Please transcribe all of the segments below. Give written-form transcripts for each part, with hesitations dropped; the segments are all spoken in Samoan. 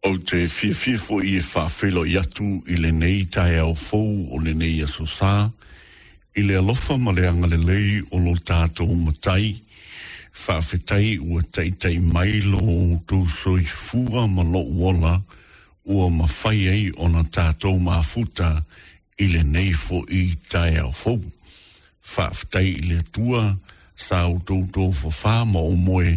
Ou te fiafia foi e faafeiloai atu i lenei taeao fou o lenei Aso Sa, i le alofa ma le agalelei o lo tatou Matai. Faafetai ua taitai mai lo outou soifua ma lou ola ua mafai ai ona tatou mafuta i lenei foi taeao fou. Faafetai i le Atua sa outou tofafa ma ou moe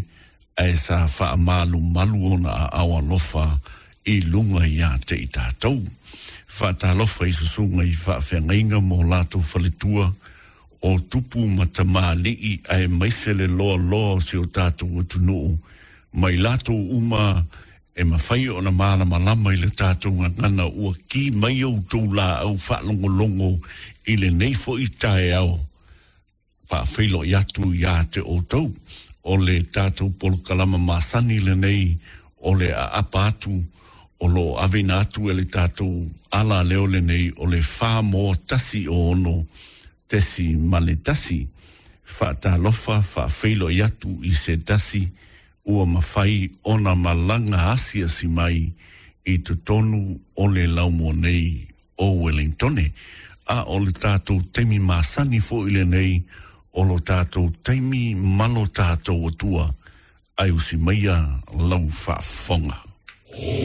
ae sa faamalumalu ona aao alofa i luga ia te i tatou. Faatalofa i susuga i faafeagaiga ma o latou faletua, o tupu ma tamalii aemaise le loaloa o si o tatou atunuu ma i latou uma e mafai ona malamalama i le tatou gagana ua ki mai outou laau faalogologo i lenei foi taeao. Faafeiloai atu ia te outou. O le tatou polokalama masani lenei o le aapa atu o lo o aveina atu e le tatou alaleo lenei o le 4 1 6.1. Faatalofa, faafeiloai atu i se tasi ua mafai ona malaga asiasi mai i totonu o le laumua nei o Wellingtone. A o le tatou taimi masani foi lenei o lo tatou taimi ma lo tatou Atua, ae usi maia lau faafofoga.